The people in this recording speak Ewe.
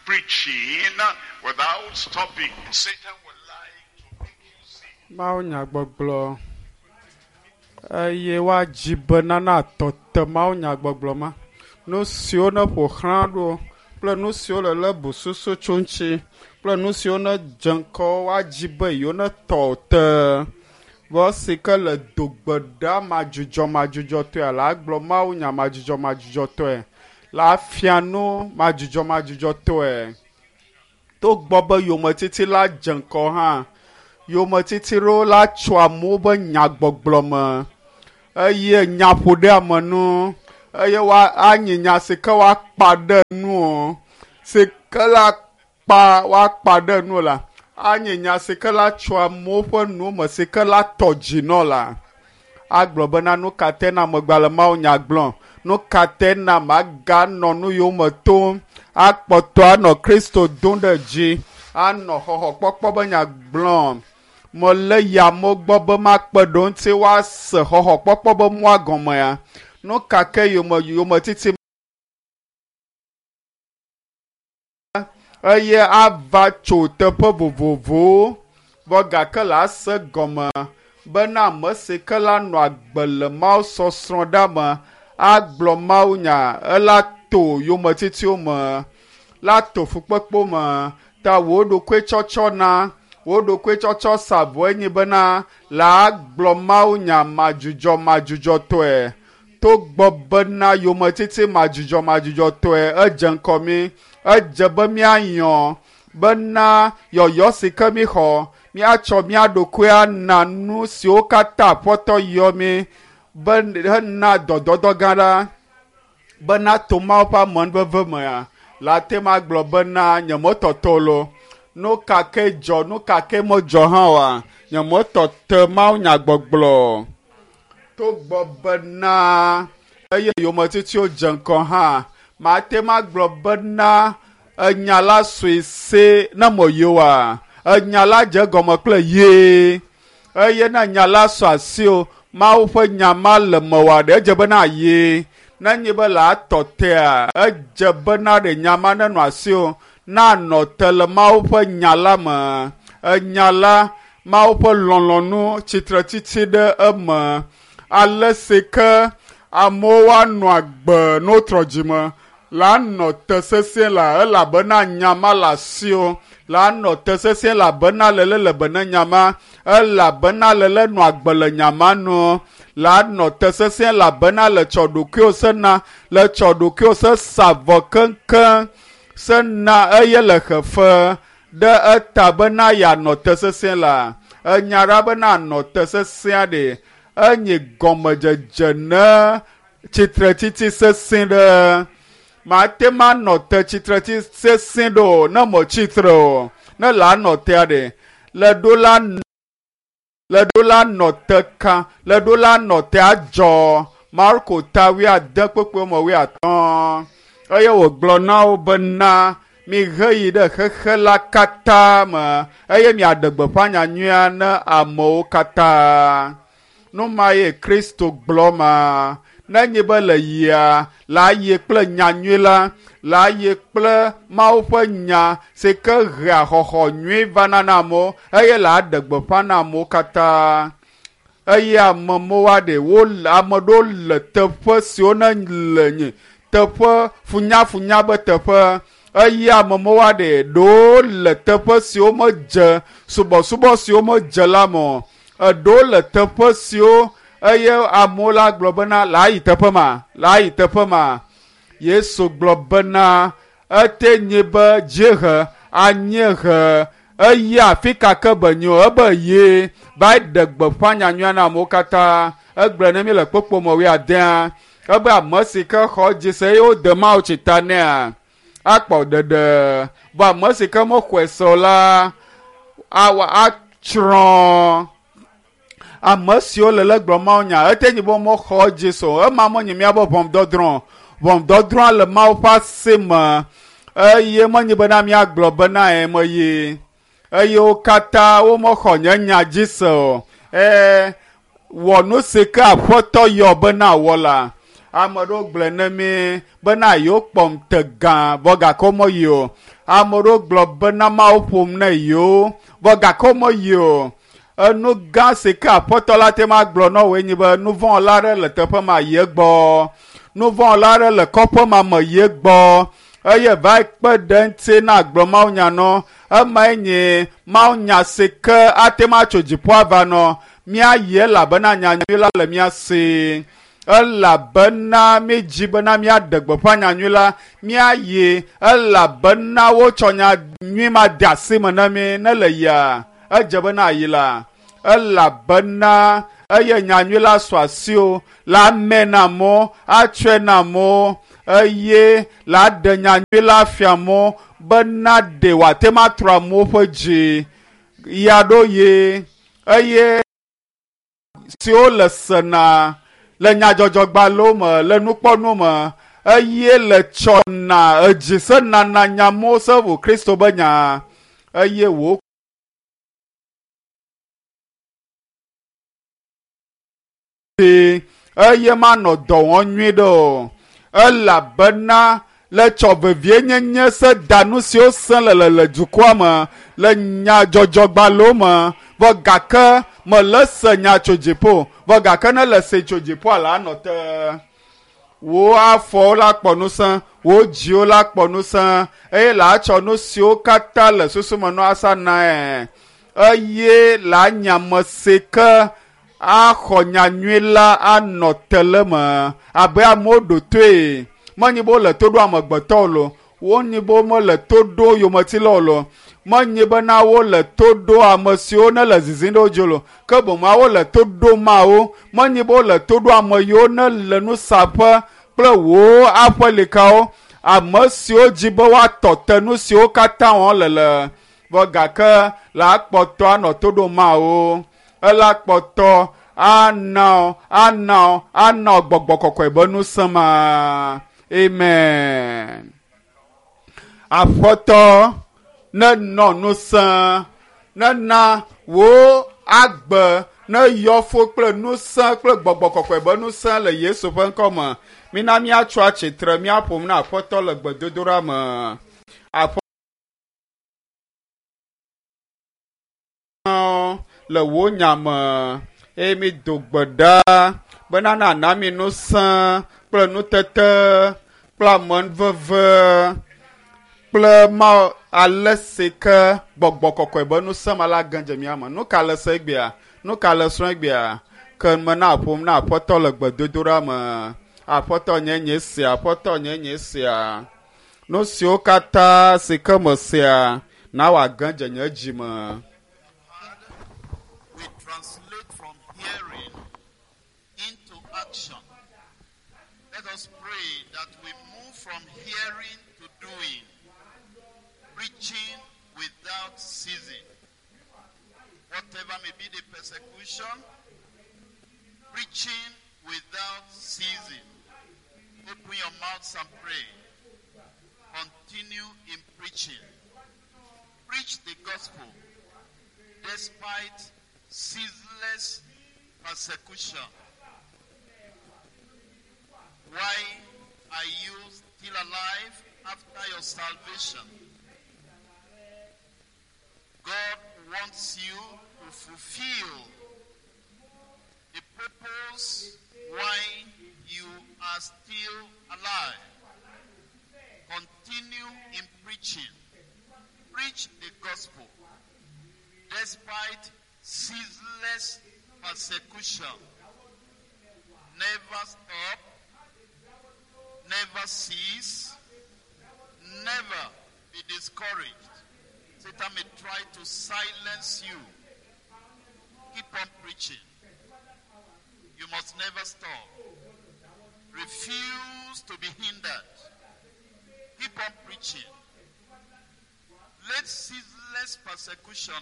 Preaching without stopping. Satan would like to make you see. Mawunyagbɔgblɔ eye woadzi be nana atɔ te mawunyagbɔgblɔ ma. Nu siwo ne ƒo xlã ɖo kple nu siwo le lé bususu tso ŋuti kple nu siwo ne dze ŋkɔ woadzi be yewo ne tɔ te. Vɔ si ke le dogbe ɖa madzudzɔmadzudzɔtɔe la agblɔ mawunya madzudzɔmadzudzɔtɔe la afia nu madzudzɔmadzudzɔtɔe. Togbɔ be yometiti la dze ŋkɔ hã, yometiti ɖewo la tso amewo be nyagbɔgblɔ me eye nyaƒoɖeamenu eye woa anyi nya si ke woakpa ɖe nu o si ke la kpa woakpa ɖe nu la anyi nya si ke la tso amewo ƒe nu me si ke la tɔ dzi nɔ la agblɔ bena nu ka te na megba le mawunya gblɔm nu ka te na maganɔ nu yome tom akpɔtɔ anɔ kristo dom ɖe dzi anɔ xɔxɔkpɔkpɔ be nya gblɔm mele yamewo gbɔ be makpe ɖo ŋuti woase xɔxɔkpɔkpɔ be mɔa gɔmea nu ka ke yome yometiti eye ava tso teƒe vovovowo vɔ gake le ase gɔme bena ame si ke la nɔ agbe le mawu sɔsrɔ̃ ɖa me agblɔ mawunya ela to yometitiwo me la to fukpekpewo me ta wò ɖokui tsɔtsɔ na wò ɖokui tsɔtsɔ sa vɔe nyi bena la agblɔ mawunya madzudzɔ madzudzɔtɔe togbɔ bena yometiti madzudzɔmadzudzɔtɔe edze ŋkɔ mi edze be míayɔ bena yɔyɔ si ke mi xɔ míatsɔ mía ɖokui ana nu siwo katã aƒetɔ yɔ mi be hena dɔdɔdɔ gã ɖa bena to mawu ƒe amenuveve mea la te ma gblɔ bena nyemetɔtɔ lo nu ka ke dzɔ nu ka ke medzɔ hã oa nyemetɔ te mawunyagbɔgblɔ togbɔ bena eye yometitiwo dze ŋkɔ hã mate ma gblɔ bena enya la sue se ne meyi oa enya la dze egɔme kple yee eye ne enya la sɔ asi o mawu ƒe nya ma le mewòa ɖe edze bena ye nenye be le atɔ tea edze bena ɖe nya ma nenɔ asi o nanɔ te le mawu ƒe nya la me enya la mawu ƒe lɔlɔ̃nu tsitretsitsi ɖe eme ale si ke amewo woanɔ agbe ne wotrɔ dzime la nɔ te sesĩe la elabena nya ma le asi o la nɔ te sesĩe elabena lele le be ne nya ma elabena lele nɔ agbe le nya ma nu la nɔ te sesĩe elabena le tsɔ ɖokuiwo sena le tsɔ ɖokuiwo se sa vɔ keŋkeŋ sena eye le xefe ɖe eta bena yeanɔ te sesĩe la enya ɖa bena anɔ te sesĩa ɖe enye gɔmedzedze ne tsitretsitsi sesĩ ɖe mate ma nɔ te tsitretsitsi sesĩ ɖo o ne metsitre o ne la nɔ tea ɖe le ɖo la le ɖo la nɔ te ka le ɖo la nɔ te adzɔ marko ta wuiade kpekpe me wuiatɔ̃ eye wògblɔ na wo bena mihe yi ɖe xexe la katã me eye miaɖe gbeƒã nyanyuia ne amewo katã nu ma ye kristo gblɔ ma nenye be le yia la yi kple nyanyui la la yi kple mawu ƒe nya si ke hea xɔxɔ nyui vana na amewo eye la ɖe gbeƒã na amewo katã eye amewo aɖe wo ame ɖewo le teƒe siwo ne le nyi teƒe funyafunya be teƒe eye amewo aɖe ɖewo le teƒe siwo medze subɔsubɔ siwo medze la me o eɖewo le teƒe siwo eye amewo la gblɔ bena la yi teƒe ma la yi teƒe ma yesu gblɔ bena ete nye be dziehe anyiehe eye afi ka ke be nyo ebe ye va ɖe gbeƒã nyanyuia na amewo katã egblɔ ne mi le kpokpo me wuiadea ebe ame si ke xɔ dzi se eye wode mawu tsi ta nea akpɔ ɖeɖe vɔ ame si ke mexɔe se o la awa atsrɔ̃ ame siwo le le gblɔm mawu nya ete nyi be mexɔ dzi se o ema menye míaƒe ʋɔnudɔdrɔ̃ ʋɔnudɔdrɔ̃a le mawu ƒe asi me eye menye bena míagblɔ bena meyi eye wo katã womexɔ nye nya dzi se o ee wɔ nu si ke aƒetɔ yɔ bena wɔ la. Ame ɖewo gblɔe ne mí bena yewo kpɔm te gã vɔ gake womeyi o. Ame ɖewo gblɔ bena Mawu ƒom ne yewo vɔ gake womeyi o. Enu gã si ke aƒetɔ la te ma gblɔ na woe nye be nuvɔ̃wɔla aɖe le teƒe ma yi egbɔ. Nuvɔ̃wɔla aɖe le kɔƒe ma me yi egbɔ eye va kpe ɖe eŋuti na agblɔ mawunya nɔ. Emae nye mawunya si ke ate ŋu atso dziƒo ava nɔ. Míayi elabena nyanyui la le mía si. Elabena mídzi bena míaɖe gbeƒã nyanyui la. Míayi elabena wotsɔ nyanyui ma de asi me na mí ne le yia. Edze bena ayi la. Elabena eye nyanyui la su asiwò la ame na amewo, atsɔe na amewo eye la ɖe nyanyui la fia amewo bena ɖe wòate ŋu atrɔ amewo ƒe dzi ya ɖo ye eye siwo le sena le nyadzɔdzɔgbalẽwo me le nukpɔnuwo me eye le tsɔna edzi senana nyamewo se ʋu Kristo be nya eye wò eye manɔ dɔ wɔm nyui ɖe o elabena le tsɔ vevienyenye se da nu siwo sẽ le le dukɔa me le nyadzɔdzɔgbalẽwo me vɔ gake mele se nya tso dziƒo vɔ gake ne le se tso dziƒoa la anɔ te. Wò afɔwo la kpɔ ŋusẽ, wò dziwo la kpɔ ŋusẽ eye la tsɔ nu siwo katã le susu me nɔ asa nae eye la nya ame si ke axɔ nyanyui la anɔ te le me abe amewo ɖo toe. Menye be wole to ɖo amegbetɔwo lo, wonye be womele to ɖo yometilawo lo, menye bena wole to ɖo ame siwo ne le zizim ɖe wo dzi lo, ke boŋ wole to ɖo Mawu. Menye be wole to ɖo ame yiwo ne le nusaƒe kple wò aƒelikawo, ame siwo dzi be woatɔ te nu siwo katã wɔm le le vɔ gake la kpɔtɔ anɔ to ɖo Mawu. Ela kpɔtɔ ana ana ana gbɔgbɔ kɔkɔe be ŋusẽ ma. Amen. Aƒetɔ nenɔ ŋusẽ nena wò agbe ne yɔ fo kple ŋusẽ kple gbɔgbɔ kɔkɔe be ŋusẽ le Yesu ƒe ŋkɔ me. Mina míatso atsitre míaƒom na Aƒetɔ le gbedodoɖa me. Aƒetɔ le wò nya me eye mi do gbe ɖa bena nana mi ŋusẽ kple nutete kple amenuveve kple ma ale si ke gbɔgbɔ kɔkɔe be ŋusẽ ma la ge dze mía me. Nu ka le se egbea? Nu ka le srɔ̃ egbea? Ke me na ƒom na Aƒetɔ le gbedodoɖa me. Aƒetɔ nye nye sia, Aƒetɔ nye nye sia. Nu siwo katã si ke me sia, na wòage dze nye dzi me. We translate from hearing into action. Let us pray that we move from hearing to doing, preaching without ceasing. Whatever may be the persecution, preaching without ceasing. Open your mouths and pray. Continue in preaching. Preach the gospel despite ceaseless persecution. Why are you still alive after your salvation? God wants you to fulfill the purpose why you are still alive. Continue in preaching. Preach the gospel despite ceaseless persecution. Never stop, never cease, never be discouraged. Satan may try to silence you. Keep on preaching. You must never stop. Refuse to be hindered. Keep on preaching. Let ceaseless persecution